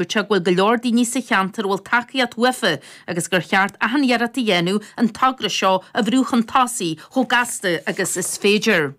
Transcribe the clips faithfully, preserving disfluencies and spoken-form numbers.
Dúirt sé go bhfuil go leor daoine sa cheantar a bhfuil tacaíocht uafa agus gur cheart achan iarracht a dhéanamh an togra seo a bhrú chun tosaigh chomh gasta agus is féidir.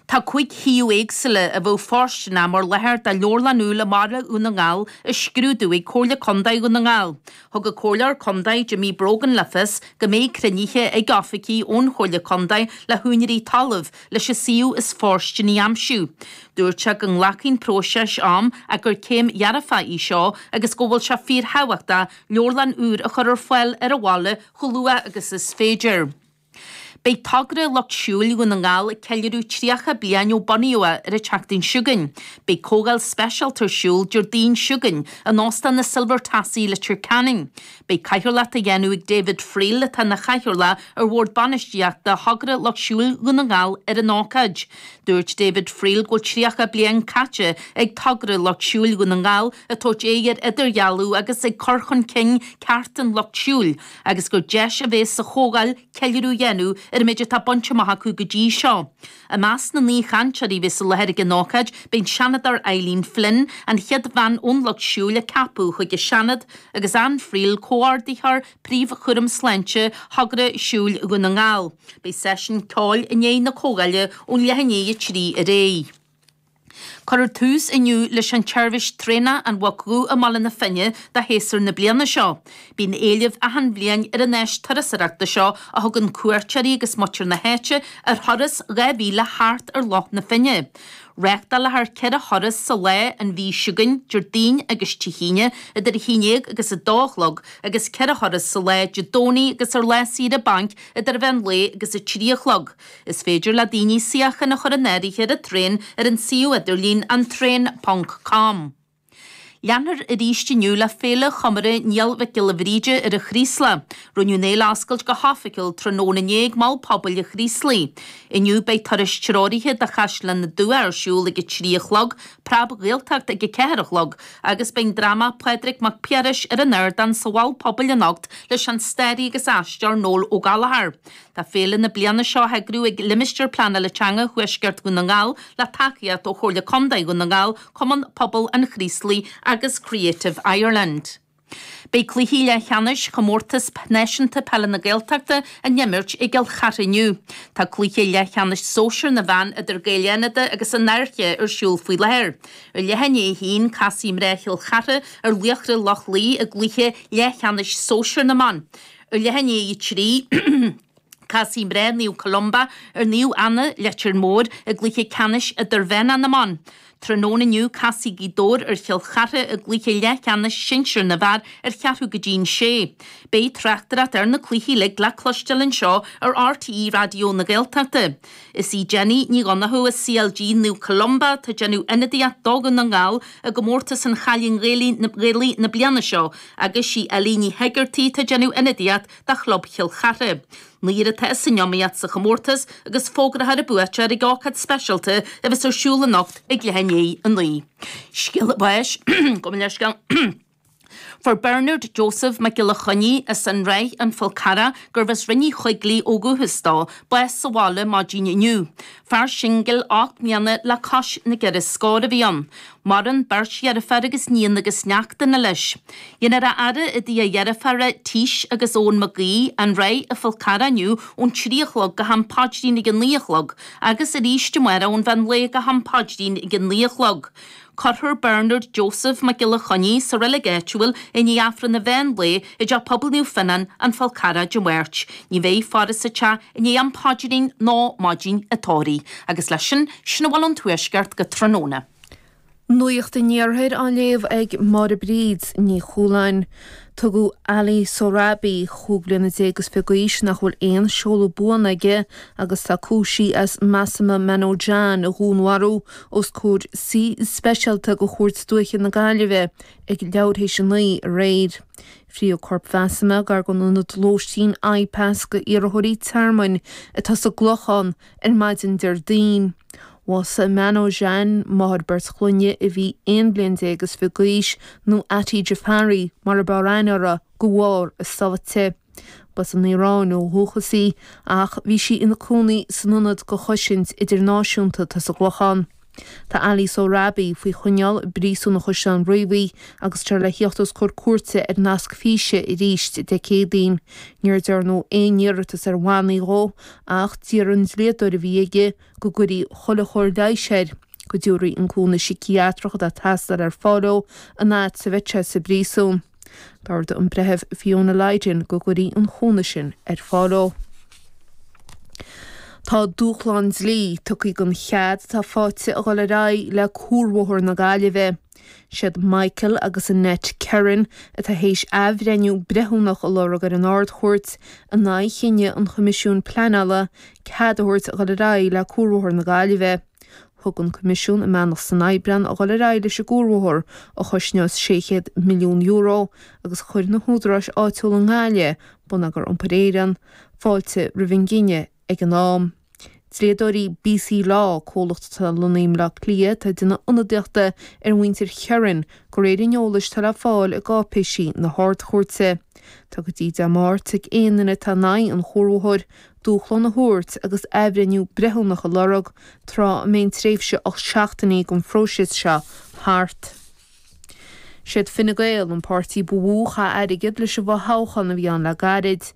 Tá cúig shuíomh éagsúla a bheadh fóirsteanach mar láthair do leabharlann úr i mbaile Dhún na nGall á scrúdú ag Comhairle Contae Dhún na nGall. Thug an Comhairleoir Contae Jimmy Brogan le fios go mbeidh cruinnithe ag oifigigh ón Chomhairle Contae le húinéirí talaimh leis an suíomh is fóirsteanaí a aimsiú. Dúirt sé go nglacfaidh an próiseas am ach gur céim dhearfach í seo agus go bhfuil sé fíorthábhachtach leabharlann úr a chur ar fáil ar an bhaile chomh luath agus is féidir. Beidh togra Lucht Siúil Dhún na nGall ag ceiliúradh tríocha bliain ó bunaíodh é ar an tseachtain seo chugainn. Beidh comhdháil speisialta ar siúl Déardaoin seo chugainn in Óstán na Silver Tassie Leitir Ceanainn. Beidh cathaoirleacht á dhéanamh ag David Friel atá ina chathaoirleach ar Bhord Bainistíochta Thogra Lucht Siúil Dhún na nGall ar an ócáid. Dúirt David Friel go bhfuil tríocha bliain caite ag togra Lucht Siúil Dhún na nGall ag tabhairt aghaidh ar idirdhealú agus ag cur chun cinn cearta an lucht siúil agus gur deis a bheas sa chomhdháil ceiliúradh a dhéanamh ar an méid atá bainte amach acu go dtí seo. I measc na n-aoichainteoirí a bheas i láthair ag an ócáid beidh an Seanadóir Eileen Flynn, an chéad bhean ón lucht siúil a ceapadh chuig an Seanad, agus Ann Friel, comhordaitheoir príomhchúram sláinte Thogra Siúil Dhún na nGall. Beidh seisiún ceoil i ndiaidh na comhdhála ón leath i ndiaidh a trí ar aghaidh. Cuirfear tús inniu leis an tseirbhís traenach An Mhuc Dhubh i mBaile na Finne do shéasúr na bliana seo. Bíonn éileamh achan bhliain ar an áis turasóireachta seo a thugann cuairteoirí agus muintir na háite ar thuras dhá mhíle thart ar Loch na Finne. Reáchtálfar ceithre thuras sa lá an mhí seo chugainn, Déardaoin agus Dé hAoine, idir a haon déag agus a dó a chlog, agus ceithre thuras sa lá Dé Domhnaigh agus ar lá saoire bainc idir mheán lae agus a trí a chlog. Is féidir le daoine suíochán a chur in áirithe ar an traein ar an suíomh idirlín antraein ponc com. Leanfar arís inniu le Féile Chomóradh Niall Mhic Giolla Bhríde ar an Chraoslach. Rinneadh an fhéile a oscailt go hoifigiúil tráthnóna inné ag Mol Pobail an Chraoslaigh. Inniu beidh turais treoraithe do Chaisleán na dTuath ar siúl ag a trí a chlog, Preab Ghaeltacht ag a ceathair a chlog, agus beidh an dráma Pádraig Mac Piarais ar an ardán sa Mhol Pobail anocht leis an staraí agus aisteoir Noel Ó Gallchóir. Tá féile na bliana seo á heagrú ag Limistéar Pleanála Teanga Thuaisceart Dhún na nGall le tacaíocht ó Chomhairle Contae Dhún na nGall, Cumann Pobail an Chraoslaigh agus Creative Ireland. Beidh cluichí leathcheannais chomórtas náisiúnta peile na Gaeltachta á n-imirt i gCill Chartha inniu. Tá cluiche leathcheannais sóisir na bhfear idir Gaeil Fhánada agus an Fhairche ar siúl faoi láthair. Ar leath i ndiaidh a haon casfaidh mná Chill Chartha ar Laochra Loch Lao i gcluiche leathcheannais sóisir na mban. Ar leath i ndiaidh a trí casfaidh mná Naomh Columba ar Naomh Anna Leitir Móir i gcluiche ceannais idirmheánach na mban. Tráthnóna inniu casfaidh Gaoth Dobhair ar Chill Chartha i gcluiche leathcheannais sinsir na bhfear ar cheathrú go dtí an sé. Beidh tráchtaireacht ar na cluichí uilig le cloisteáil anseo ar RTÉ Raidió na Gaeltachta. Is í Jenny Ní Dhonnachú as CLG Naomh Columba atá ag déanamh ionadaíocht do Dhún na nGall i gcomórtas an Chailín Ghaelaigh na bliana seo agus sí Ellie Ní Heigeartaigh atá ag déanamh ionadaíocht do chlub Chill Chartha. Naonúr atá san iomaíocht sa chomórtas agus fógrófar an buaiteoir ag ócáid speisialta a bheas ar siúl anocht ag leath i ndiaidh a naoi. Scéala báis gabh mo leithscéal. Fuair Bernard Joseph Mac Giolla Chainnigh as an Ráith an Fál Carrach gurbh as Rinn Uí Choigligh ó dhúchas dó, bás sa bhaile maidin inniu. Fear singil ocht mbliana le cois na gceithre scór a bhí ann. Maireann beirt dheirféar agus níon agus neachtanna leis. Déanfar a fhaire i dtigh a dheirféara Tís agus Eoin Mac Aoidh, an Ráith an Fál Carrach inniu ón trí a chlog go ham paidrín ag a naoi a chlog agus arís amárach ón mheán lae go ham paidrín ag a naoi a chlog. Cuirfear Bernard Joseph Mac Giolla Chainnigh sa reilig áitiúil i ndiaidh Aifreann an mheán lae i dteach pobail Naomh Fionnán, an Fál Carrach Dé Máirt. Ní bheidh faire sa teach i ndiaidh am paidrín ná maidin an tórraimh. Agus leis sin, sin a bhfuil ón Tuaisceart go tráthnóna. Nuacht an Iarthair á léamh ag Máire Bríd Ní Chualáin. Tugadh Ali Sohrabi chúig bliana déag is fiche d'aois nach bhfuil aon seoladh buan aige agus tá cúisithe as Masuma Manojan a dhúnmharú os comhair suí speisialta de Chúirt Dúiche na Gaillimhe ag leathuair théis a naoi aréir. Frítheadh corp Mhasuma gar don ionad lóistín IPAS d'iarrthóirí tearmainn atá sa gClochán ar maidin Déardaoin. Bhásaigh Manojan, máthair beirt chlainne a bhí aon bhliain déag is fiche d'aois nó Ati Jafari mar a b'fhearr aithne uirthi de bharr a sáite. Ba as an Iaráin ó dhúchas í ach bhí sí ina cónaí san ionad do chosaint idirnáisiúnta atá sa gClochán. Tá Ali Sohrabi faoi choinneáil i bPríosún Chaisleán Riabhaigh agus tá le theacht os comhair cúirte ar nasc físe arís Dé Céadaoin. Níor dearnadh aon iarratas ar bhannaí dhó ach d'iarr an dlíodóir a bhí aige go gcuirfí chuile chóir leighis air, go dtabharfaí an cúnamh síciatrach atá ag teastáil ar fáil dó an fhad is a bheidh sé sa bpríosún. D'ordaigh an Breitheamh Fiona Lydon go gcuirfí an cúnamh sin ar fáil dó. Tá dúshlán dlí tugtha don chead atá faighte a dhul ar aghaidh le Cuarbhóthar na Gaillimhe. Siad Michael agus Annette Kerin atá théis athbhreithniú breithiúnach a lorg ar an Ard-Chúirt in aghaidh chinneadh an Choimisiúin Pleanála cead a thabhairt a dhul ar aghaidh le Cuarbhóthar na Gaillimhe. Thug an Coimisiún a mbeannacht san Aibreán a dhul ar aghaidh leis an gcuarbhóthar, a chosnós sé chéad milliún euro, agus chuir na húdaráis áitiúla i nGaillimh, Bonneagar Iompair Éireann, fáilte roimh an gcinneadh ag an am. Dlíodóirí BC Law, comhlacht atá lonnaithe i mBleá Cliath, atá ag déanamh ionadaíochta ar mhuintir Kherin, de réir an eolais atá le fáil i gcáipéisí na hArd-Chúirte. Tá go dtí Dé Máirt ag aon duine atá in aghaidh an chuarbhóthair dúshlán a thabhairt agus athbhreithniú breithiúnach a lorg, tráth a mbeidh an tréimhse ocht seachtainí don phróiseas seo thart. Siad Fine Gael an páirtí ba mhó a chaith airgead leis an bhfothoghchán a bhí ann le gairid.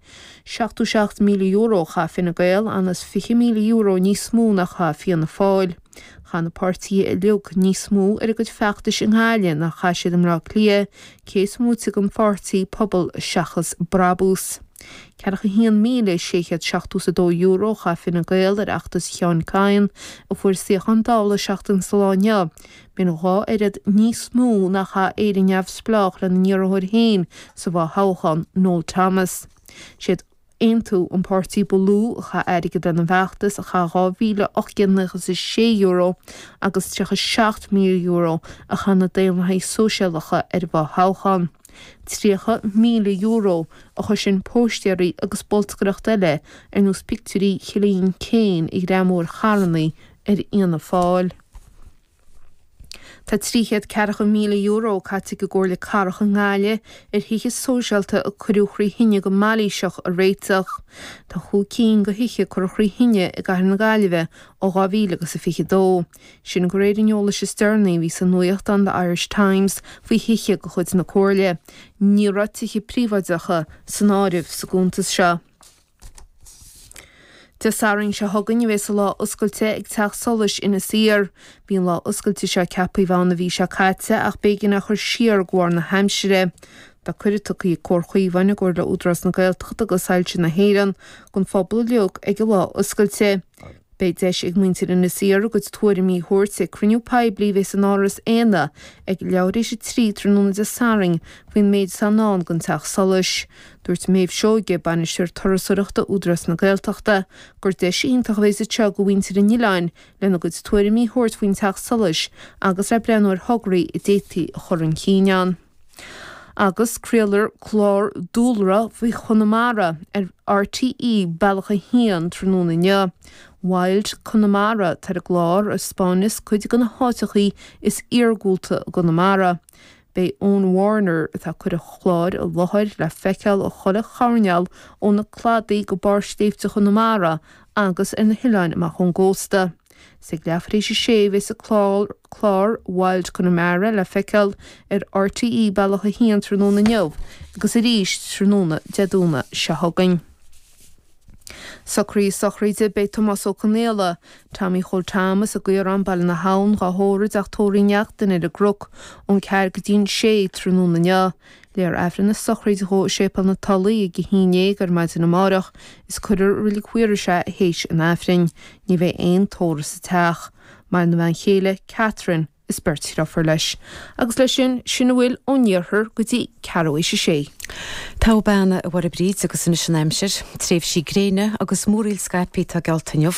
Seachtó seacht míle euro a chaith Fine Gael, anuas fiche míle euro níos mó ná a chaith Fianna Fáil. Chaith na páirtithe uilig níos mó ar a gcuid feachtais i nGaillimh ná a chaith siad i mBleá Cliath, cé is móite den pháirtí Pobal Seachas Brabús. Ceathracha haon míle sé chéad seachtó is a dó euro a chaith Fine Gael ar fheachtas Sheáin Kyne, a fuair suíochán Dála seachtain sa lá inniu. B'in dhá oiread níos mó ná a chaith Éire Neamhspleách lena n-iarrthóir féin sa bhfothoghchán, Noel Thomas. Siad Aontú an páirtí ba lú a chaith airgead lena bhfeachtas, a chaith dhá mhíle ocht gcéad nócha is a sé euro agus tríocha seacht míle euro a chaith na Daonlathaithe Sóisialacha ar an bhfothoghchán. tríocha míle euro a chuir sin póstaeirí agus bolscaireacht eile ar nós pictiúirí Chillian Keane a ghreamú ar charrannaí ar Fhianna Fáil. Tá trí chéad ceathracha míle euro caite ag an gComhairle Cathrach i nGaillimh ar thithe sóisialta a cuireadh trí thine go mailíseach a réiteach. Tá chúig cinn de thithe curtha trí thine i gcathair na Gaillimhe ó dhá mhíle agus a fiche dó. Sin de réir an eolais is deireanaí a bhí sa nuachtán The Irish Times faoi thithe de chuid na Comhairle. Ní raibh tithe príobháideacha san áireamh sa gcuntas seo. Dé Sathairn seo chugainn a bheas an lá oscailte ag Teach Solais Inis Oírr. Bhí an lá oscailte seo ceaptha a bheith ann an mhí seo caite ach b'éigean é a chur siar de bharr na haimsire. Tá cuireadh tugtha ag Comhar Chaomháin i gcomhar le Údarás na Gaeltachta agus Soilse na hÉireann don phobal uilig ag an lá oscailte. Beidh deis ag muintir Inis Oírr a gcuid tuairimí a thabhairt ag cruinniú poiblí a bheas in Áras Éanna ag leathuair tar éis a trí tráthnóna Dé Sathairn faoin méid atá i ndán don Teach Solais. Dúirt Méabh Seoige, Bainisteoir Turasóireachta Údarás na Gaeltachta, gur deis iontach a bheas anseo do mhuintir an oileáin lena gcuid tuairimí a thabhairt faoin Teach Solais agus le breathnú ar thograí a d'fhéadfaí a chur chun cinn ann. Agus craolfar clár dúlra faoi Chonamara ar RTÉ Bealach a hAon tráthnóna inniu. Wild Connemara atá ar an gclár a 'spáineas cuid de na háiteachaí is iargúlta i gConamara. Beidh Eoin Warner, atá ag cur an chláir i láthair, le feiceáil ó chuile choirnéal ó na cladaí go barr sléibhte Chonamara agus ar na hoileáin amach ón gcósta. Is ag leathuair tar éis a sé a bheas an clár Wild Connemara le feiceáil ar RTÉ Bealach a hAon tráthnóna inniu agus arís tráthnóna Dé Domhnaigh seo chugainn. Socruithe sochraide Beidh Tomás Ó Conaola, Tommy Chóil Tom as an gCaorán, Baile na hAbhann, dhá thórramh i dTeach Tórraimh Uí Neachtain ar an gCnoc ón ceathair go dtí an sé tráthnóna inniu. Léifear Aifreann na sochraide dhó i Séipéal na Tulaí ag a haon déag ar maidin amárach is cuirfear i Reilig Mhaorais é théis an Aifrinn. Ní bheidh aon tórramh sa teach. Maireann a bhean chéile, Catherine, is beirt dhriofúr leis. Agus leis sin, sin a bhfuil ón iarthar go dtí ceathrú théis a sé. Togha bean, a Mháire Bríd, agus anois an aimsir. Tréimhsí gréine agus múraíl scaipthe atá geallta inniu.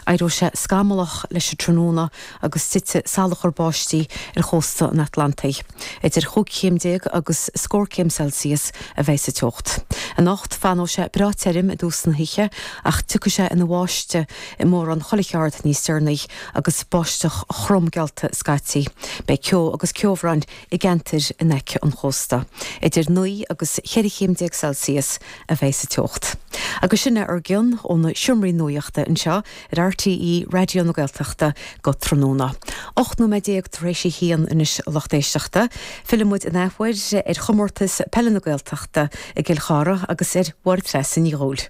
Éireoidh sé scamallach leis an tráthnóna agus titfidh salachar báistí ar chósta an Atlantaigh. Idir chúig chéim déag agus scór céim Celsius a bheidh sa teocht. Anocht, fanóidh sé breá tirim i dtús na hoíche ach tiocfaidh sé ina bháisteach i mórán chuile cheard níos deireanaí agus báisteach throm geallta scaití. scaití. Beidh ceo agus ceobhrán i gceantair in aice an chósta. Idir naoi agus cheithre chéim déag Celsius a bheidh sa teocht. Agus sin é ár gcion ó na seomraí nuachta anseo ar RTÉ Raidió na Gaeltachta go tráthnóna. Ocht nóiméad déag tar éis a haon anois a lucht éisteachta, fillfidh muid an athuair ar chomórtas peile na Gaeltachta i gCill Chartha agus ar Mháire Treasa Ní Dhubhghaill.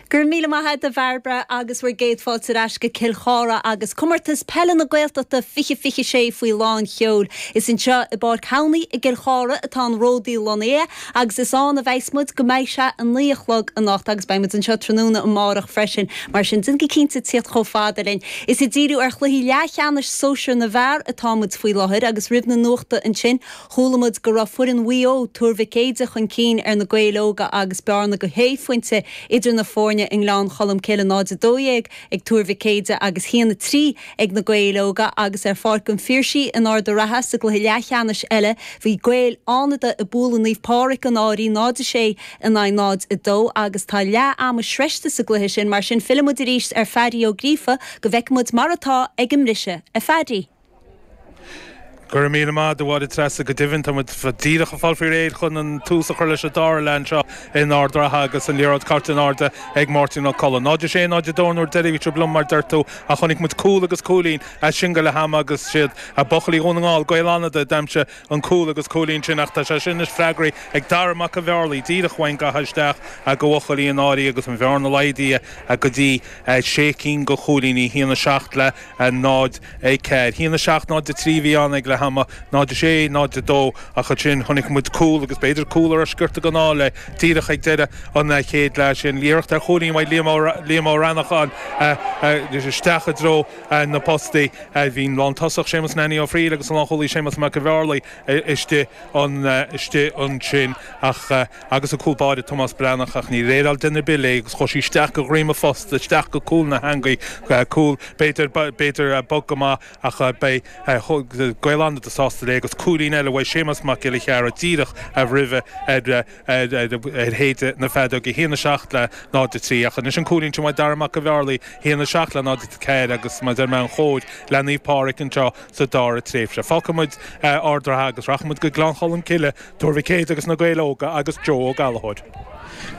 Go raibh míle maith agat a Bhairbre agus bhur gcéad fáilte ar ais go Cill Chartha agus comórtas peile na Gaeltachta fiche fiche sé faoi lán seoil. Is anseo i bPáirc Thamhnaigh i gCill Chartha atá an ródaí lonnaithe agus is ann a bheas muid go mbeidh sé a naoi a chlog anocht agus beidh muid anseo tráthnóna amárach freisin mar sin déan go cinnte tíocht chomh fada linn. Is ag díriú ar chluichí leathcheannais sóisir na bhfear atá muid faoi láthair agus roimh na nuachta ansin chuala muid go raibh foireann Mhaigh Eo Tuar Mhic Éide chun cinn ar na Gaeil Óga agus bearna go shé phointe idir na foirne i nGleann Cholm Cille náid a dó dhéag ag Tuar Mhic Éide agus haon a trí ag na Gaeil Óga agus ar Pháirc an Phiarsaigh in Ard an Rátha sa gcluiche leathcheannais eile bhí Gaeil Fhánada ag bualadh Naomh Pádraig an Áirí náid a sé in aghaidh náid a dó agus tá leath ama sroichte sa gcluiche sin mar sin fillfidh muid arís ar Phaddy Ó Gríofa go bhfeicfidh muid mar atá ag an mbriseadh a Phaddy. Go raibh míle maith agat a Mháire Treasa go deimhin tá muid díreach ag fáil faoi réir chun an tús a chur leis an dara leath anseo in Ard an Rátha agus an liathróid caite in airde ag Máirtín Ó Colla. Náid a sé náid a dó nuair deiridh bhí liom mar deir tú a chonaic muid cúl agus cúilín as sin go leath ama agus siad a buachaillí Dhún na nGall Gaeil Fhánada d'aimsigh an cúl agus cúilín sin ach tá sé sin is freagraí ag Dara Mac an Bhearlaí díreach bhain gacha isteach go bhuachaillí an Áirí agus an bhearna laghdaithe go dtí sé cinn go chúilíní haon a seacht le náid a ceathair. Haon a seacht náid a trí bhí ann ag leath ama náid a sé náid a dó ach ansin chonaic muid cúl agus b'fhéidir cúl ar sciorta gan le díreach ag deireadh an chéad leath sin iarracht ar chúilín Liam Ó Rannacháin isteach i dtreo na postaí bhí an lántosach Séamus Nanny Ó Fríl agus an lánchúlaí Séamus Mac Bhearlaí istigh an istigh ansin ach agus a cúl báire Tomás Breathnach ach ní réireáil denna bille agus chuaigh sí isteach go dhroim an phosta isteach go cúl na heangaí cúl b'fhéidir b'fhéidir bog go maith ach beidh Gaeil Fhánada sásta le agus cúilín eile uaidh Séamus Mac Giolla Chearra díreach a roimhe ar ar shéide na feadóige haon a seacht le náid a trí ach anois an cúilín sin uaidh Dara Mac an Bhearlaí haon a seacht le náid a ceathair agus mar deir mé an chóir le Naomh Pádraig anseo sa dara tréimhse. Fágfaidh muid Ard an Rátha agus rachaidh muid go Gleann Cholm Cille Tuar Mhic Éide agus na Gaeil Óga agus Joe Ó Gallchóir.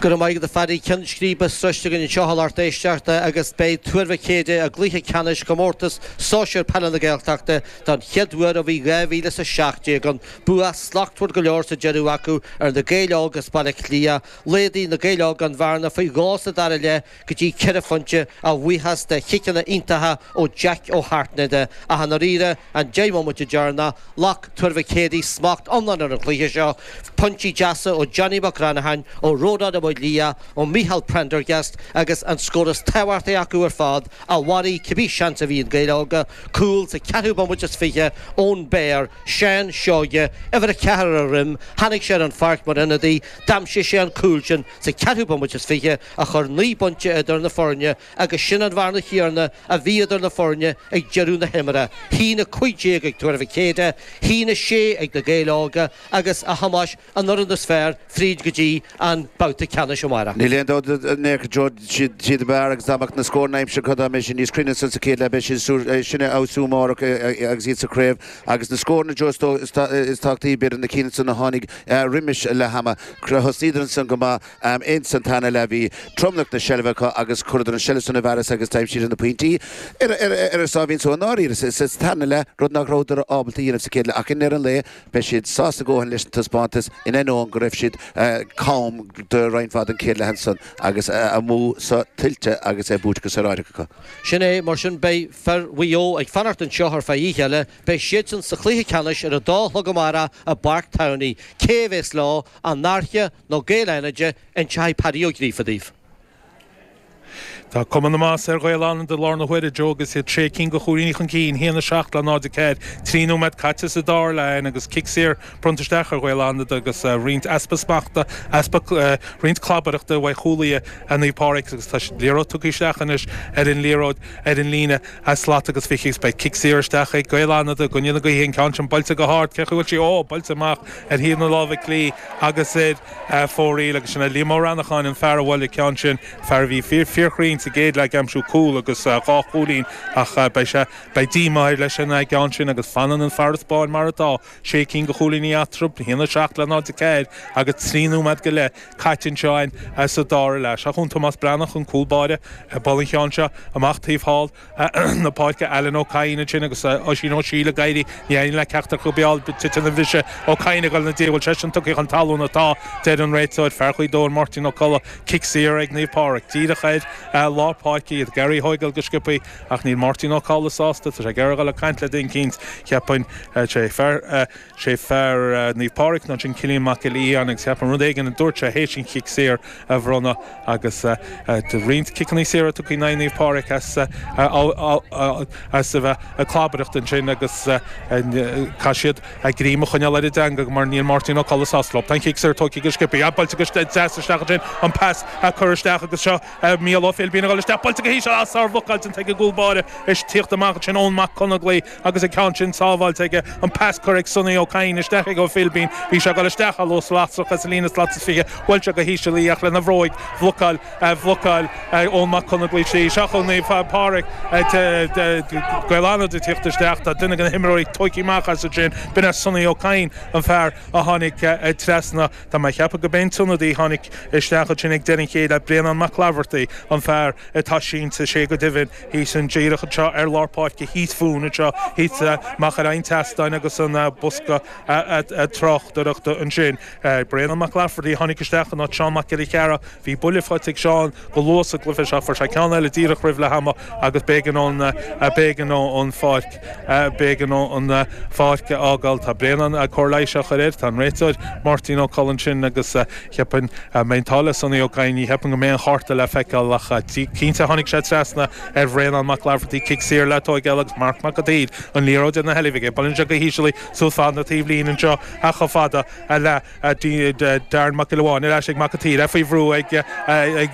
Go raibh maith agat a Phaddy ceann scríbe sroichte againn anseo a lucht éisteachta agus beidh Tuar Mhic Éide i gcluiche ceannais comórtas sóisir peile na Gaeltachta don chéad uair ó bhí dhá mhíle is a seacht déag ann. Bua slachtmhar go leor sa deireadh acu ar na Gaeil Óga as Baile Átha Cliath. Laghdaigh na Gaeil Óga an bhearna faoi dhó sa dara leath go dtí ceithre phointe a bhuíochas de chiceanna iontacha ó Jack Ó hAirtnéide. Ach i ndáiríre, an deich mbomaite deireanach, ghlac Tuar Mhic Éadaigh smacht iomlán ar an chluiche seo. Pointí deasa ó Johnny Mac Granacháin, ó Rónán Ó Maoildhia, ó Micheál Prendergast agus an scór is tábhachtaí acu ar fad a mharaigh cibé seans a bhí ag Gaeil Óga, cúl sa ceathrú bomaite is fiche ón Béar, Seán Seoige, uimhir a ceathair ar a dhroim, tháinig sé ar an pháirc mar ionadaí, d'aimsigh sé an cúl sin sa ceathrú bomaite is fiche a chuir naoi bpointe idir na foirne agus sin an bhearna chéanna a bhí idir na foirne ag deireadh na himeartha, haon a cúig déag ag Tuar Mhic Éadaigh, haon a sé ag na Gaeil Óga agus a Thomáis an fhoireann is fearr fríd go dtí an babhta ceannais amárach. Níl aon dabht in aon chor Joe, siad ab fhearr agus dá mbeadh na scóranna aimsithe acu dá mbeidh siad níos cruinne ansan sa chéad leath beidh siad sin a fheabhsú amárach agus iad sa chraobh agus na scóranna Joe is tábhachtaí b'fhéidir na cinn ansan a tháinig roimis leath ama. Thosnaíodar ansan go maith ins an tarna leath bhí tromlach na seilbhe acu agus chuireadar an seilbh san i bhfearas agus d'aimsíodar na pointí ar ar a sáimhín só i ndáiríre sa tarna leath rud nach rabhadar ábalta a dhéanamh sa chéad leath ach i ndeireadh an lae beidh siad sásta a dhóthain leis an taispeántas in ainneoin go raibh siad cam do roinnt mhaith den chéad leath ansan agus a mbua so tuillte agus é buaite go saoráideach acu. Sin é, mar sin beidh fir Mhaigh Eo ag fanacht anseo ar feadh oíche eile. Beidh siadsan sa chluiche ceannais ar a dó a chlog amárach i bPáirc Thamhnaigh. Cé a bheas leo, an Fhairche nó Gaeil Fhánada, inseoidh Paddy Ó Gríofa daoibh. Tá cuma na masa ar Ghaeil Fhánada i láthair na huaire, Joe, agus iad sé cinn de chúilíní chun cinn, haon a seacht le náid a ceathair, trí nóiméad caite sa dara leath agus cic saor bronnta isteach ar Ghaeil Fhánada agus roinnt easpa smachta, easpa roinnt clabaireachta uaidh chúlaithe Naomh Pádraig agus tá liathróid tugtha isteach anois ar an liathróid ar an líne slat agus fiche agus beidh cic saor isteach ag Gaeil Fhánada i gcoinne na gaoithe, an ceann sin buailte go hard, cé chaoi bhfuil sí? Ó, buailte amach ar thaobh na láimhe clí agus ar fóraoil agus sin é Liam Ó Rannacháin an fear a bhuail an ceann sin, fear a bhí fíor fíorchruinn sa gcéad leath ag aimsiú cúl agus dhá chúilín ach beidh sé beidh díomá air leis an gceann sin agus fanann an farasbarr mar atá, sé cinn de chúilíní eatarthu, a haon a seacht le náid a ceathair agus trí nóiméad go leith caite anseo againn sa dara leath. Seo chugainn Tomás Breathnach, an cúl báire, ag bualadh an cheann seo amach taobh thall na páirce, Alan Ó Cadhain ansin agus Oisín Ó Siail ag éirí, ní éiríonn le ceachtar acu a fháil, titeann an bhriseadh, Ó Cadhain ag dul ina diaidh, bhfuil seisean tugtha chun talún atá, deir an réiteoir, fear Ghaoth Dobhair Máirtín Ó Colla, cic saor ag Naomh Pádraig, díreach ar lár páirce iad ag iarraidh a thóigeáil go sciobthaí ach níl Máirtín Ó Colla sásta, tá sé ag iarraidh a dhul ag caint le duine eicínt, cheapfainn, sé fear, sé fear Naomh Pádraig nó sin Cillian Mac Giolla Fhiáin agus cheapfainn rud éigin a dúirt sé théis an chic saor a bhronnadh agus roinnt ciceanna saora tugtha in aghaidh Naomh Pádraig as as a bheith ag clabaireacht ansin agus caithfidh siad a greim a choinneáil ar a dteanga mar níl Máirtín Ó Colla sásta leo. Tá an cic saor tógtha go sciobtha, buailte go deas isteach ansin, an pas curtha isteach agus seo Mícheál Ó Philbín ag dul isteach, buailte go híseal, ah sárbhlocáil déanta ag an gcúl báire is tíocht amach ansin Eoin Mac Conaglaí agus an ceann sin sábháilte aige, an pas curtha ag Sonny Ó Cadhain isteach ag Ó Philbín, bhí sé ag dul isteach a luas lasrach as an líne slat is fiche, bhuail sé go híseal í ach lena bhróig bhlocáil bhlocáil Eoin Mac Conaglaí sí. Seo chugainn Naomh Pádraig Gaeil Fhánada ag tíocht isteach, tá duine de na himreoirí tógtha amach as ansin, b'in é Sonny Ó Cadhain an fear a tháinig trasna, tá mé ag ceapadh go b'é an t-ionadaí a tháinig isteach ansin ag deireadh an chéad leath, Bréanán Mac Laifeartaigh an fear atá sínte, sé go deimhin thíos an díreach anseo ar lár páirce thíos fúinn anseo, thíos machaire an tseastáin agus an bosca tráchtaireachta ansin. Bréanán Mac Laifeartaigh a tháinig isteach in áit Seán Mac Giolla Chearra. Bhí buille faighte ag Seán go luath sa gcluiche seo, fuair sé ceann eile díreach roimh leath ama agus b'éigean dó b'éigean dó an pháirc b'éigean dó an pháirc a fhágáil. Tá Bréanán cóir leighis á chur air. Tá an réiteoir Máirtín Ó Colla ansin agus cheapfainn mbeidh an t-ádh le Sonny Ó Cadhain, ní cheapaim go mbeidh an chárta le feiceáil ach cinnte tháinig sé trasna ar Bhréanán Mac Laifeartaigh, cic saor le tóigeáil agus Marc Mac an tSaoir an liathróid ina sheilbh aige. Buaileann sé go híseal í suas fad na taobhlíne anseo chomh fada le Darren Mac Giolla Bháin ar ais ag Mac an tSaoir, é faoi bhrú ag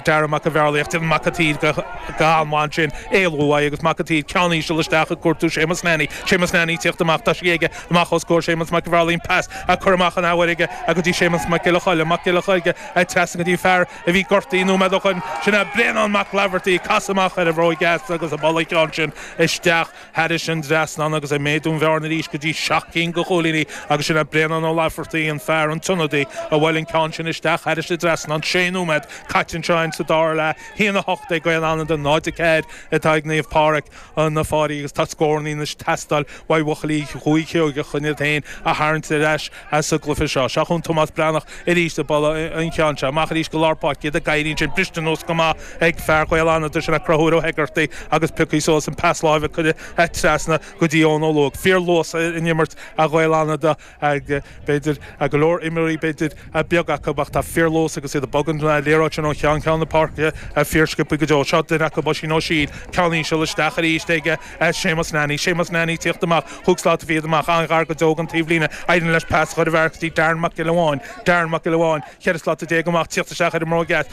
Darren Mac an Bhearlaigh ach déanann Mac an tSaoir go han-mhaith ansin éalú uaidh agus Mac an tSaoir ceann íseal isteach ag cuartú Séamus Nanny. Séamus Nanny ag tíocht amach, tá sé aige amach os comhair Séamus Mac an Bhearlaigh an pas á cur amach an athuair aige go dtí Séamus Mac Giolla Choille. Mac Giolla Choille trasna go dtí an fear a bhí gortaithe nóiméad ó shoin, sin é Bréanán Mac Laifeartaigh ag casadh amach ar a bhróig dheas agus ag bualadh an ceann sin isteach thairis an dtrasnán agus ag méadú an bhearna arís go dtí seacht gcinn de chúilíní agus sin é Bréanán Ó Laifeartaigh, an fear, an t-ionadaí, a bhuail an ceann sin isteach thairis an dtrasnán. Sé nóiméad caite anseo againn sa dara leath, a haon a hocht ag Gaeil Fhánada, náid a ceathair atá ag Naomh Pádraig na Fáirí agus tá scórannaí anois ag teastáil uaidh bhuachaillí Dhúiche Sheoigeach chun iad féin a tharraingt ar ais sa gcluiche seo. Seo chugainn Tomás Breathnach arís ag bualadh an cheann seo amach arís go lár páirce, iad ag éirí ansin, briste anuas go maith ag fear Ghaeil Fhánada, sin é Conchúr Ó hEigeartaigh agus pioctha suas an pas láimhe curtha trasna go dtí Eoin Ó Lúing. Fíor luas in imirt Ghaeil Fhánada, b'fhéidir go leor imreoirí b'fhéidir beag acu ach tá fíor luas agus iad ag bogadh an liathróid sin ó cheann ceann na páirce fíor sciobtha go deo. Seo duine acu Oisín Ó Siail, ceann íseal isteach arís ag Séamus Nanny. Séamus Nanny ag tíocht amach, chúig slat fichead amach, an-ghar go deo don taobhlíne. Éiríonn leis pas a chur i bhfear go dtí Darren Mac Giolla Bháin. Darren Mac Giolla Bháin, ceithre slata déag amach, tíocht isteach ar an mbróig dheas.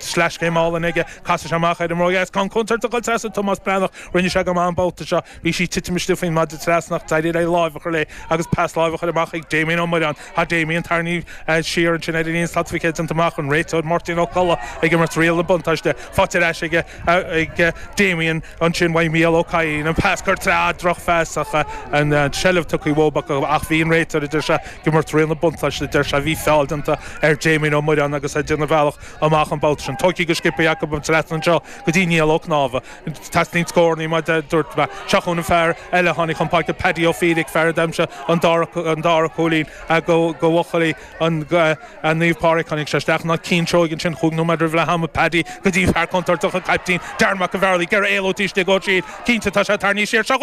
Sleaschéim álainn aige, casadh sé amach ar an mbróig dheas. Ceann contúirteach ag dul trasna Tomás Breathnach. Rinne sé go maith an babhta seo. Bhí sí ag titim istigh faoin maide trasna ach d'éirigh leis láimh a chur léi agus pas láimhe a chur amach ag Damien Ó Muireáin. Tá Damien tarraingthe siar ansin ar an líne slat fichead déanta amach, an réiteoir Máirtín Ó Colla ag imirt riail na buntáiste. Faighte ar ais aige ag Damien ansin uaidh Mícheál Ó Cadhain. An pas curtha trasna, drochphas ach an tseilbh tugtha uathu acu ach bhí an réiteoir, a deir sé, ag imirt riail na buntáiste, a deir sé. Bhí feall déanta ar Damien Ó Muireáin agus é ag déanamh a bhealach amach an babhta sin. Tógtha go sciobtha acu an trasna anseo go dtí Niall Ó Cnámha. Teastaíonn scórannaí mar a dúirt mé. Seo chugainn an fear eile a tháinig chun páirce, Paddy Ó Fiaich, fear a d'aimsigh an dara cúilín do bhuachaillí Naomh Pádraig. Tháinig sé isteach in áit Cian Seoighe ansin chúig nóiméad roimh leath ama. Paddy go dtí fear contúirteach an caiptín, Darren Mac an Bhearlaigh, ag iarraidh éalú taobh istigh ó thriúr. Cinnte tá sé tarraingthe siar. Seo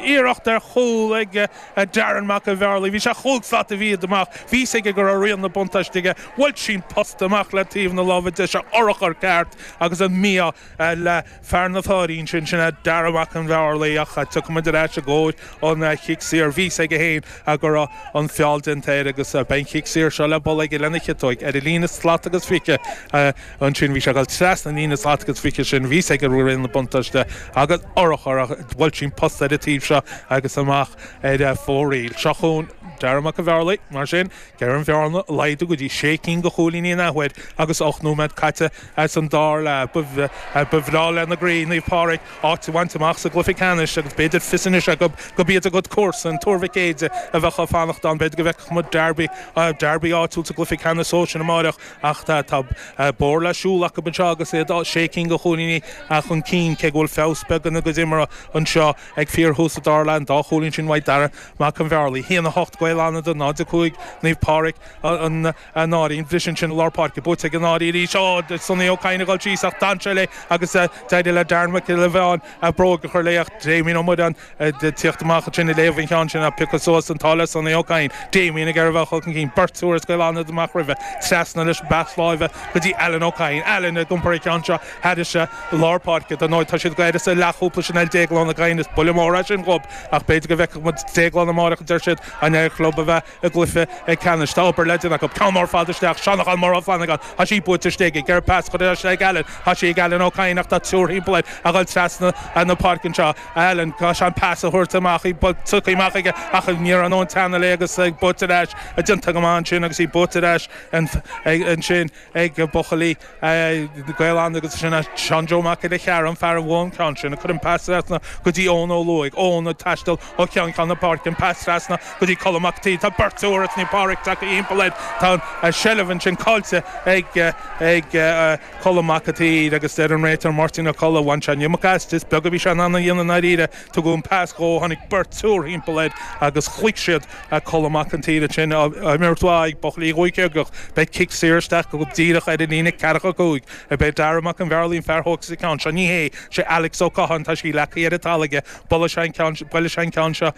iarracht ar chúl ag Darren Mac an Bhearlaigh. Bhí sé chúig slat fichead amach. Bhí fhios aige go raibh riail na buntáiste aige. Bhuail sí an posta amach le taobh na láimhe deise, urchar ceart agus an mí-ádh le fear na Fáirí ansin, sin é Darragh Mac an Bhearlaigh ach tiocfaidh muid ar ais i gcomhair an chic saor. Bhí fhios aige féin go raibh an feall déanta air agus beidh an chic saor seo le bualadh aige lena chiotóig ar an líne slat agus fiche ansin. Bhí sé ag dul trasna an líne slat agus fiche sin. Bhí fhios aige go raibh riail na buntáiste agus urchar ach bhuail sí an posta ar an taobh seo agus amach ar fóraoil. Seo chugainn Darragh Mac an Bhearlaigh mar sin. Ag iarraidh an bhearna a laghdú go dtí sé cinn de chúilíní an athuair agus ocht nóiméad caite. caite san dara leath. Ba bhreá lena gcroí Naomh Pádraig áit a bhaint amach sa gcluiche ceannais agus b'fhéidir fios anois acu gurb iad a gcuid comharsan, Tuar Mhic Éide, a bheadh ag fanacht ann. B'fhéidir go bhfeicfeadh muid derby, derby áitiúil sa gcluiche ceannais sóisir amáireach ach tá bóthar le siúl acu anseo agus iad sé cinn de chúilíní chun cinn cé go bhfuil feabhas beag ina gcuid imeartha anseo ag fíorthús an dara leath, an dá chúilín sin uaidh Darragh Mac an Bhearlaí. A haon a hocht Gaeil Fhánada, náid a cúig Naomh Pádraig an Áirín. Briseadh ansin i lár páirce, buaite ag an Áirín arís. Ó, Sonny Ó Cadhain ag dul síos ach d'fhan sé léi agus d'éirigh le Darren Mac Giolla Mheáin bróg a chur léi ach Damien Ó Muireáin ag tíocht amach ansin ag léamh an cheann sin ach piocadh suas an t-ádh le Sonny Ó Cadhain. Damien ag iarraidh a bheith chun cinn, beirt úr as Gaeil Fhánada amach roimhe, trasna leis an bpas láimhe go dtí Alan Ó Cadhain. Alan ag iompar an ceann seo thairis lár páirce. Dar ndóigh tá siad gairid sa leathchúpla sin eile Déaglán Ó Cadhain, is buille mór é sin dhób ach b'fhéidir go bhfeicfeadh muid Déaglán amárach a deir siad an ar chlub a bheith i gcluiche ceannais. Tá obair le déanamh acu. Ceann mór fada isteach, Seán Ó Mór Ó Flannagáin, tá sí buaite istigh ag iarraidh pas a chur ar ais ag Alan, tá sí ag Alan Ó Cadhain ach tá triúr thimpeall air ag dul trasna na páirce anseo. Alan, tá sé an pas a thabhairt amach, í tugtha amach aige ach ní raibh an teanna léi agus buaite ar ais, déanta go maith ansin agus í buaite ar ais ansin ag buachaillí Gaeil Fhánada agus sin Seán Joe Mac Uile Chearra, an fear a bhuaigh an ceann sin, a chuir an pas trasna go dtí Eoin Ó Lúaigh. Eoin ag taisteal ó cheann ceann na páirce, an pas trasna go dtí Colm Mac an tSaoi. Tá beirt úr as Naomh Pádraig tagtha thimpeall air. Tá an seilbh ansin caillte ag ag Colm Mac an tSaoir agus deir an réiteoir Máirtín Ó Colla, bhain sé an iomarca aisti, is beag a bhí sé in ann a dhéanamh i ndáiríre. Tugadh an pas dhó, tháinig beirt úr thimpeall air agus chloígh siad Colm Mac an tSaoir ansin. Imirt mhaith ag buachaillí Dhúiche Sheoigeach. Beidh cic saor isteach go díreach ar an líne ceathracha cúig. Beidh Dara Mac an Bhearlaí an fear a thógfas an ceann seo. Ní hé, sé Alex Ó Catháin, tá sí leagtha ar an talamh aige. Buailfidh sé an ceann, buailfidh sé an ceann seo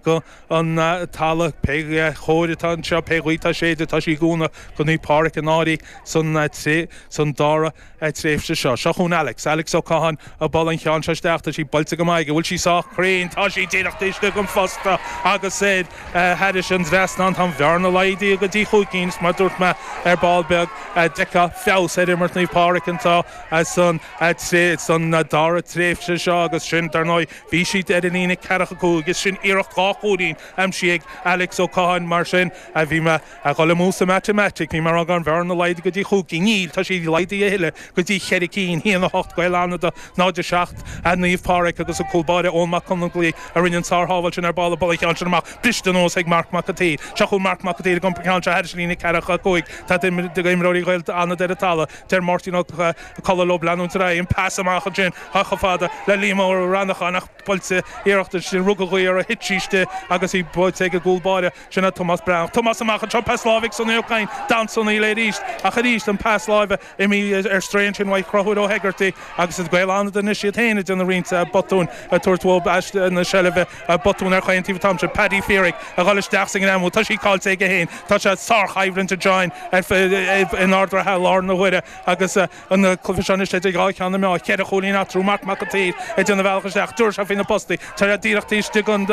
go an talamh. Pé chóir atá anseo, pé ghaoth atá ag séideadh, tá sí ag cúnamh go Naomh Pádraig an Áirí san san dara tréimhse seo. Seo chugainn Alex, Alex Ó Catháin ag bualadh an cheann seo isteach. Tá sí buailte go maith aige. Bhfuil sí sách cruinn? Tá sí díreach taobh istigh den phosta agus ar thairis an dtrasnán. Tá an bhearna laghdaithe go dtí chúig cinn is mar a dúirt mé ar ball beag, d'fheicfeá feabhas ar imirt Naomh Pádraig anseo san san dara tréimhse seo agus sin, dar ndóigh, bhí siad ar an líne ceathracha cúig is sin iarracht dhá chúilín aimsithe ag Alex Ó Catháin. Mar sin, bhí mé a dhul amú sa matamaitic, bhí mé ag rá go raibh an bhearna laghdaithe go dtí chúig cinn. Níl, tá sí laghdaithe a thuilleadh go dtí cheithre cinn, a haon a hocht Gaeil Fhánada, náid a seacht Naomh Pádraig agus an cúl báire Eoin Mac Conmlaí a rinne an sár-shábháil sin ar ball ag bualadh an cheann sin amach. Briste anuas ag Marc Mac an tSaoir. Seo chugainn Marc Mac an tSaoir ag iompar an ceann seo thairis an líne ceathracha cúig. Tá imreoirí Ghaeil Fhánada ar an talamh. Deir Máirtín Ó Colla leo leanúint ar aghaidh. An pas amach ansin chomh fada le Liam Ó Reannacháin ach buailte iarracht ansin rug an ghaoth uirthi, thit sí istigh agus í buailte ag an gcúl báire sin é Tomás Breathnach. Tomás amach anseo, pas láimhe ag Sonny Ó Cadhain. D'fhan Sonny léi arís ach arís an pas láimhe imithe ar strae ansin uaidh Chonchúr Ó hEigeartaigh agus is Gaeil Fhánada anois iad féin ag déanamh roinnt botúin ag tabhairt uathu aiste na seilbhe, botún ar chaon taobh an t-am sin. Paddy Feerick a dhul isteach sa ngreamú, tá sí caillte aige féin. Tá sé sárchoimhlint anseo in Ard an Rátha i láthair na huaire agus an cluiche seo anois idir dhá cheann na meá. Ceithre chúilín eatarthu, Marc Mac an tSaoir ag déanamh a bhealach isteach, dúirt sé faoi na postaí, tá sé díreach taobh istigh den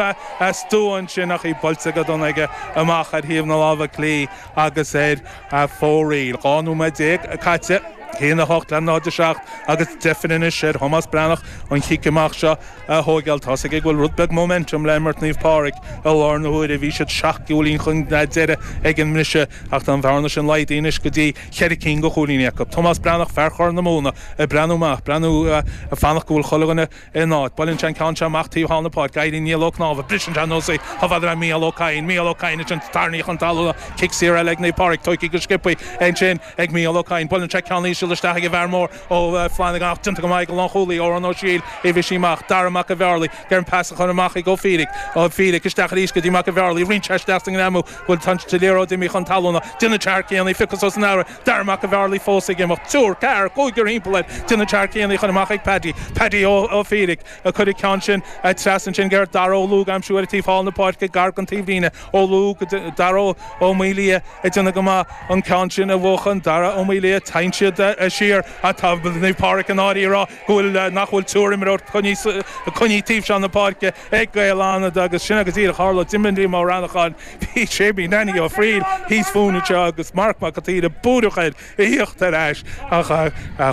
stua ansin ach í buailte go dona aige amach ar thaobh na láimhe clí agus ar fóraoil. Dhá nóiméad déag caite. a haon a hocht le náid a seacht agus deifir anois ar Thomás Breathnach an chic amach seo a thóigeáil. Tá's aige go bhfuil rud beag momentum le imirt Naomh Pádraig i láthair na huaire. Bhí siad seacht gcúilín chun deiridh ag an mbriseadh ach tá an bhearna sin laghdaithe anois go dtí cheithre cinn de chúilíní acu. Tomás Breathnach, fear Chorr na Móna, ag breathnú amach, breathnú ag fanacht go bhfuil chuile dhuine ina áit. Buaileann sé an ceann seo amach taobh thall na páirce. Éiríonn Niall Ó Cnámha. Briseann sé anuas í chomh fada le Mícheál Ó Cadhain. Mícheál Ó Cadhain ansin tarraingthe chun talún. Cic saor eile ag Naomh Pádraig. Tógtha go sciobtha ansin ag Mícheál Ó Cadhain. Buaileann sé ceann íseal isteach ag an bhfear mór ó Flanagan ach déanta go maith ag an lánchúlaí, Odhrán Ó Siadhail, é a bhriseadh amach. Dara Mac an Bhearlaigh ag iarraidh an pas a chur amach ag Ó Fiaich. Ó Fiaich isteach arís go dtí Mac an Bhearlaigh. Roinnt sé isteach sa ngreamú go bhfuil an liathróid imithe chun talún. Déanann sé thar cionn í phiocadh suas an aire. Dara Mac an Bhearlaigh fós ag imeacht. Triúr, ceathrar, cúigear thimpeall air. Déanann sé thar cionn í chur amach ag Paddy. Paddy Ó Fiaich ag cur an ceann sin trasna ansin ag iarraidh Dara Ó Lúg a aimsiú ar an taobh thall na páirce gar don taobhlíne. Ó Lúg, Dara Ó Maolaodha ag déanamh go maith an ceann sin a bhuachan. Dara Ó Maolaodha, téann siad siar. Tá Naomh Pádraig an Áirí ag rá go bhfuil, nach bhfuil triúr imreoir coinnithe taobh seo na páirce ag Gaeil Fhánada agus sin agus díreach a tharla. D'imigh Liam Ó Reannacháin, bhí Séimí Nanny Ó Fríl thíos fúinn anseo agus Marc Mac an tSaoir ag búireach air a thíocht ar ais ach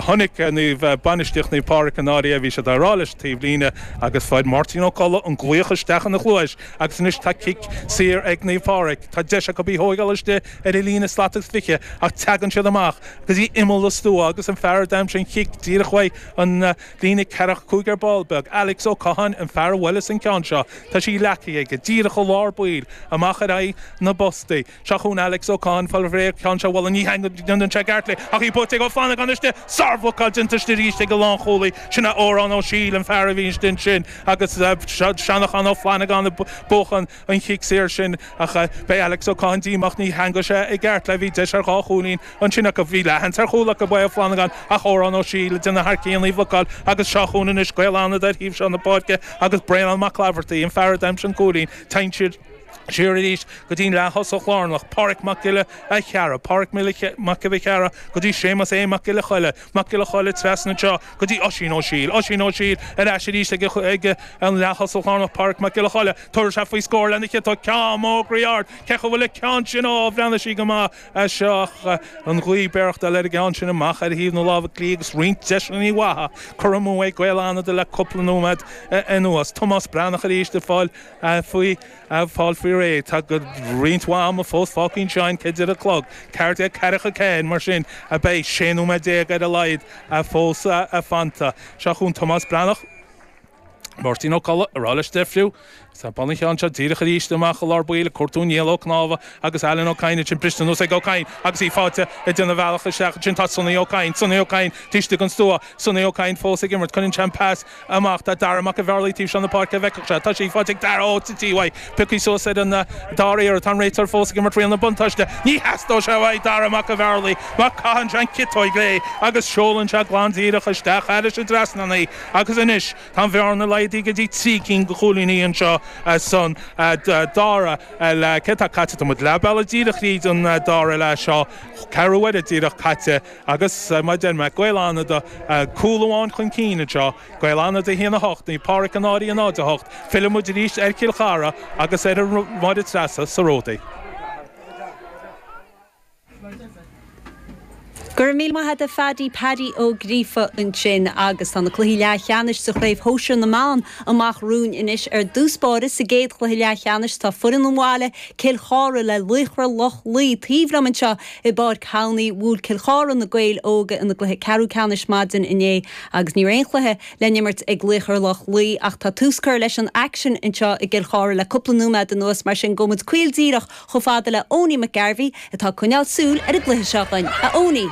chonaic Naomh, bainistíocht Naomh Pádraig an Áirí é, bhí siad á rá leis an taobhlíne agus fuair Máirtín Ó Colla an glaoch isteach ina chluais agus anois tá cic saor ag Naomh Pádraig. Tá deis acu í a thóigeáil istigh ar an líne slat agus fiche ach teagann siad amach go dtí imeall an stua. stua agus an fear a d'aimsigh an chic díreach uaidh an líne ceathracha cúig ar ball beag, Alex Ó Catháin an fear a bhuaileas an ceann seo. Tá sí leagtha aige díreach ó lár baill amach ar aghaidh na bpostaí. Seo chugainn Alex Ó Catháin fáil réidh ceann seo bhuel ní dhéanann sé i gceart léi ach í buaite ag Ó Flannagáin istigh. Sárbhlocáil déanta istigh arís ag an lánchúlaí. Sin é Odhrán Ó Siail an fear a bhí istigh ansin agus Seanachán Ó Flannagáin ag buachan an chic saor sin ach beidh Alex Ó Catháin díomách ní theangaigh sé i gceart léi. Bhí deis ar dhá chúilín ansin acu. Bhí leathsheans ar chúl acu uaidh Ó Flannagáin ach Odhrán Ó Siail ag déanamh thar cionn í bhlocáil agus seo chugainn anois Gaeil Fhánada ar thaobh seo na páirce agus Bréanán Mac Laifeartaigh, an fear a d'aimsigh an cúilín. Téann siad siar arís go dtí'n leath-thosach lárnach, Páraic Mac Giolla Chearra, Páraic Mac Giolla Chearra go dtí Séamus A. Mac Giolla Choille, Mac Giolla Choille trasna anseo go dtí Oisín Ó Siail, Oisín Ó Siail ar ais arís ag ag an leath-thosach lárnach, Páraic Mac Giolla Choille, tabharfaidh sé faoi scór lena chiotóg, ceann mór groí ard, cé chomh bhfuil an ceann sin, ó, bhreathnaigh sí go maith as seo ach an ghaoth ag béireachtáil ar an gceann sin amach ar thaobh na láimhe clí agus roinnt deiseanna mhaithe curtha amú ag Gaeil Fhánada le cúpla nóiméad anuas. Tomás Breathnach arís ag fáil faoi fáil faoi réidh. Tá roinnt mhaith ama fós fágtha anseo an ceithre a chlog, ceathair déag ceathracha ceathair, mar sin beidh sé nóiméad déag ar a laghad fós fanta. Seo chugainn Tomás Breathnach. Máirtín Ó Colla ag rá leis deifriú. Tá an ceann seo díreach arís amach i lár baill ag cuartú Niall Ó Cnámha agus Alan Ó Cadhain ansin briste anuas ag Ó Cadhain agus í faighte ag déanamh a bhealach isteach ansin tá Sonny Ó Cadhain, Sonny Ó Cadhain taobh istigh den stua, Sonny Ó Cadhain fós ag imirt, cuireann sé an pas amach do Dara Mac an Bhearlaigh taobh seo na páirce a bhfeicfeadh sé. Tá sí faighte ag Dara ó tití uaidh. Pioctha suas ar an dara iarraidh. Tá an réiteoir fós ag imirt riail na buntáiste. Ní theastóidh sé uaidh Dara Mac an Bhearlaigh mar caitheann sé an chiotóig léi agus seolann sé glan díreach isteach thairis an dtrasnán í agus anois tá an bhearna laghdaithe go dtí trí cinn de chúilíní anseo san dara leath. Céard atá caite? Tá muid leath bealaigh díreach thríd an dara leath seo, ceathrú uaire díreach caite agus mar a deir mé, Gaeil Fhánada cúl amháin chun cinn anseo, Gaeil Fhánada a haon a hocht, Naomh Pádraig an Áirígh a náid a hocht. Filleann muid arís ar Chill Chartha agus ar Mháire Treasa sa Ródaí. Go raibh míle maith agat a Phaddy, Paddy Ó Gríofa ansin agus tá na cluichí leathcheannais sa Chraobh Shóisir na mBan amach romhainn anois. Ar dtús báire sa gcéad chluiche leathcheannais tá foireann an bhaile, Cill Chartha le Laochra Loch Lao taobh liom anseo i bPáirc Thamhnaigh. Bhuail Cill Chartha na Gaeil Óga ina gcluiche ceathrú ceannais maidin inné agus ní raibh aon chluiche le n-imirt ag Laochra Loch Lao ach tá tús curtha leis an aicsean anseo i gCill Chartha le cúpla nóiméad anuas mar sin gabhfaidh muid caol díreach chomh fada le Owenie McGarvey atá ag coinneáil súil ar an gcluiche seo dhuinn. A Owenie!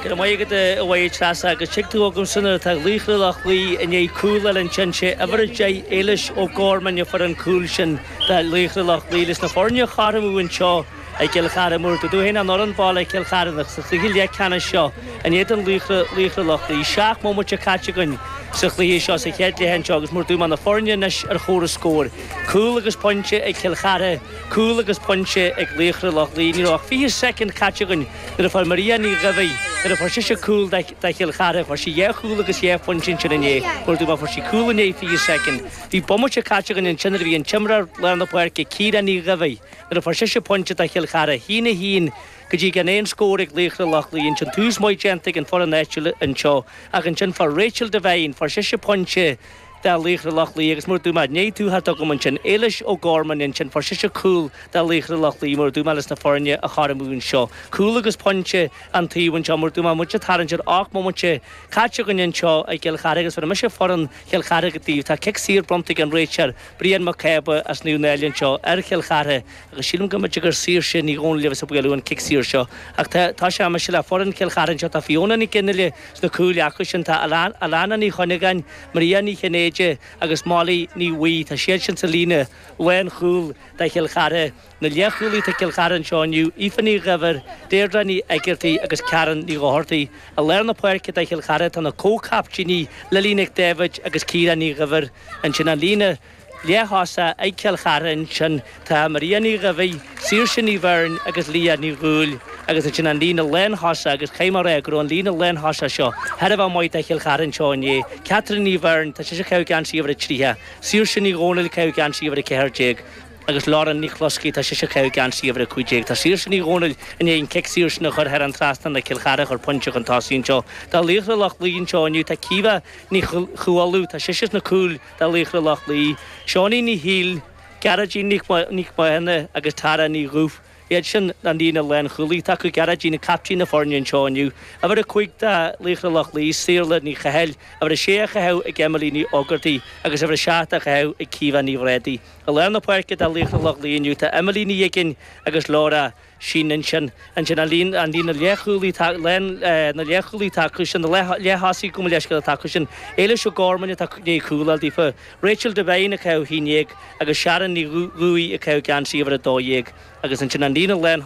Go raibh maith agat a Mháire Treasa agus tuig tú agamsa nuair atá Laochra Loch Lao i ndiaidh cúl a fháil ansin sé uimhir a deich Éilis O'Gorman a fuair an cúl sin do Laochra Loch Lao leis na foirne a chothromú anseo i gCill Chartha mar dúirt tú féin an fhoireann baile Cill Chartha sa chluiche leathcheannais seo in éadan Laochra Laochra Loch Lao. Seacht mbomaite caite againn sa chluiche seo sa chéad leath anseo agus mar dúirt mé na foirne anois ar chomhaireamh scóir. Cúl agus pointe ag Cill Chartha, cúl agus pointe ag Laochra Loch Lao. Ní raibh ach fiche soicind caite againn nuair a fuair Maria Ní Dhuibhigh, nuair a fuair sise cúl do Chill Chartha. Fuair sí dhá chúl agus dhá phointe ansin inné. Mar dúirt mé fuair sí cúl i ndiaidh fiche soicind. Bhí bomaite caite againn ansin nuair a bhí an t-imreoir lár na páirce, Ciara Ní Dhuibhigh, nuair a fuair sise pointe do Chill Chartha. A haon a haon go dtí gan aon scór ag Laochra Loch Lao. Ansin tús maith déanta ag an foireann áitiúil anseo ach ansin fuair Rachel Devine, fuair sise pointe do Laochra Loch Lao agus mar dúirt mé, ní tú thart agam ansin, Éilis O'Gorman ansin, fuair sise cúl do Laochra Loch Lao mar dúirt mé leis na foirne a chothromú anseo. Cúl agus pointe an taobh anseo mar dúirt mé, muid ag tarraingt ar ocht mbomaite caite againn anseo i gCill Chartha agus bhéarfaidh mise foireann Chill Chartha daoibh. Tá cic saor bronnta ag an réiteoir Brian Mac Cába as Naomh Náille anseo ar Chill Chartha agus sílim go mb'fhéidir gur Saoirse Ní Dhomhnaill a bheas ag bualadh an cic saor seo ach tá tá sé mise le foireann Chill Chartha anseo tá Fiona Nic Fhionnghaile sna cúil acu sin tá Alana Ní Chuinneagáin, Maria Ní Chinnéide agus Molly Ní Bhuí tá siad sin sa líne lánchúil do Chill Chartha. Na leathchúlaithe do Chill Chartha anseo inniu, Aoife Ní Dhuibhir, Deirdre Ní Eigeartaigh agus Karen Ní Dhochartaigh. I lár na páirce do Chill Chartha tá na comhchaiptíní Lily Nic Dáibhid agus Ciara Ní Dhuibhir. Ansin an líne leath-thosaigh ag Cill Chartha ansin tá Maria Ní Dhuibhigh, Saoirse Ní Bheirn agus Leah Ní Dhúill agus ansin an líne lánthosach agus caithfidh mé a rá go raibh an líne lánthosach seo thar a bheith maith do Chill Chartha anseo inné. Catherine Ní Bheirn, tá sise ag caitheamh geansaí uimhir a tríocha, Saoirse Ní Dhomhnaill ag caitheamh geansaí uimhir a ceathair déag agus Lauren Ní Chluascaigh, tá sise ag caitheamh geansaí uimhir a cúig déag. Tá Saoirse Ní Dhomhnaill i ndiaidh an cic saor sin a chur thar an trasnán le Cill Chartha a chur pointe chun tosaigh anseo. Do Laochra Loch Lao anseo inniu tá Caoimhe Ní Chualáin, tá sise sna cúil do Laochra Loch Lao, Seánie Ní Shiail, Gearóidín Nic Mathúna agus Tara Ní Dhuibh. Iad sin an líne lánchúlaí atá acu, Gearóidín captaen na foirne anseo inniu. Uimhir a cúig do Laochra Loch Lao, Saorla Ní Chathail, uimhir a sé á caitheamh ag Emily Ní Ógartaigh agus uimhir a seacht á caitheamh ag Caoimhe Ní Bhrádaigh. I lár na páirce do Laochra Loch Lao inniu tá Emily Ní Uiginn agus Laura Sheehan ansin. Ansin an líne an líne leathchúlaí lán na leathchúlaí atá acu sin, na leath-thosaí gabh mo leithscéal atá acu sin, Éilis O'Gorman atá i ndiaidh cúl a fháil daofa, Rachel Devine ag caitheamh a haon dhéag agus Sharon Ní Dhubhaigh ag caitheamh geansaí uimhir a dó dhéag agus ansin an líne lán